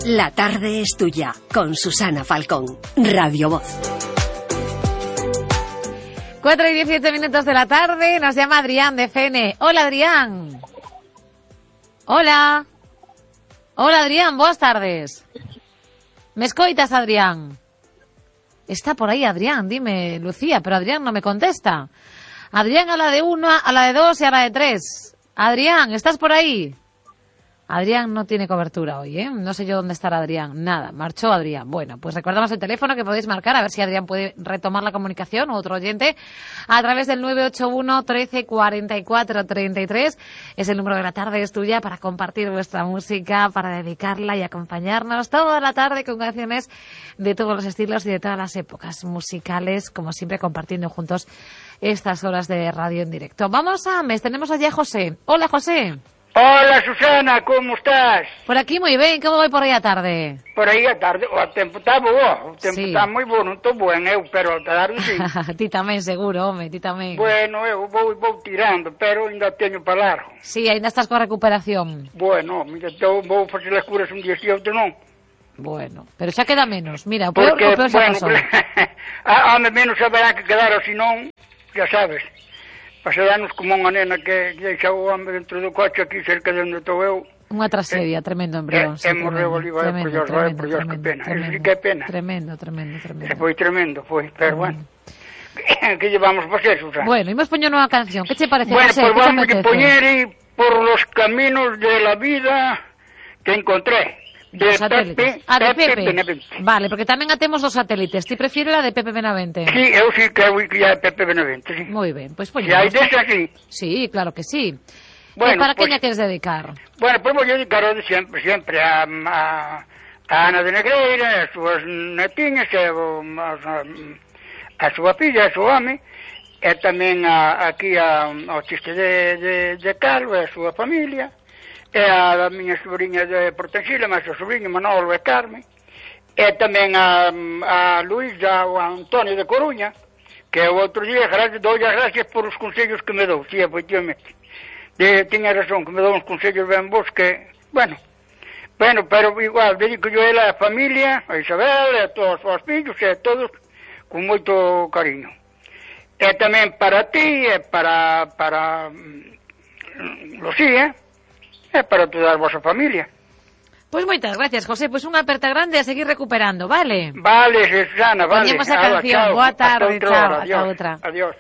La tarde es tuya, con Susana Falcón, Radio Voz. 4:17 de la tarde, nos llama Adrián de Fene. Hola, Adrián. Hola. Hola, Adrián, boas tardes. Me escoitas, Adrián? Está por ahí, Adrián, dime, Lucía, pero Adrián no me contesta. Adrián a la de 1, a la de 2 y a la de 3. Adrián, ¿estás por ahí? Adrián no tiene cobertura hoy, ¿eh? No sé yo dónde estará Adrián. Nada, marchó Adrián. Bueno, pues recordamos el teléfono que podéis marcar, a ver si Adrián puede retomar la comunicación o otro oyente, a través del 981 13 44 33. Es el número de La tarde es tuya para compartir vuestra música, para dedicarla y acompañarnos toda la tarde con canciones de todos los estilos y de todas las épocas musicales, como siempre compartiendo juntos estas horas de radio en directo. Vamos a mes, tenemos allí a José. Hola, José. Hola, Susana, como estás? Por aquí moi ben, como vai por aí a tarde? Por aí a tarde, o tempo está bo, o tempo está Sí. moi bo, non estou buen eu, pero a tarde sí. Ti tamén, seguro, home, ti tamén. Bueno, eu vou tirando, pero ainda teño para largo. Sí, ainda estás coa recuperación. Bueno, mira, vou facer as curas un día si outro non. Bueno, pero xa queda menos. Mira, o peor xa pasou. Home, menos haberá que quedar, ou senón, xa sabes. Pasarnos como unha nena que deixa o home dentro do coche aquí cerca de onde estou eu. Unha tragedia, tremendo, embrión. E morreu ali, por Dios, que pena. Eso sí que é pena. Tremendo. Foi tremendo, pero bueno. Que llevamos a facer, Susana? Bueno, imos poñer unha canción. Que che parece, Bueno, José? pues Que vamos te a apetece? poner por los caminos de la vida que encontré. De Dos satélites. De Pepe. Benavente. Vale, porque tamén atemos os satélites. Ti prefires la de Pepe Benavente? Sí, eu sí que é Pepe Benavente, sí. Moi ben, pois Si hai poñemos. desa, sí. Sí, claro que sí. Bueno, Para pues- quen a queres dedicar? Bueno, pues vou dedicar de sempre a Ana de Negreira, as súas netiñas, a súa filla, a súa home, e tamén aquí ao chiste de Carlos e a súa familia, e a miña sobrinha de Portensila, máis o sobrinho Manolo e Carmen, e tamén a Luisa ou a Antonio de Coruña, que o outro día dou as gracias por os consellos que me dou, sí, efectivamente. Tiña razón, que me dou uns consellos ben vos que, bueno, pero igual, dedico yo a ela a familia, a Isabel, a todos os fillos, e a todos, con moito cariño. E tamén para ti, e para Lucía, e para toda a vosa familia. Pois moitas gracias, José. Pois unha aperta grande a seguir recuperando, vale? Vale, Susana, vale. Poñemos a Ala, canción. chao. Boa tarde, Hasta outra chao, hora. hasta Adiós. outra. Adiós.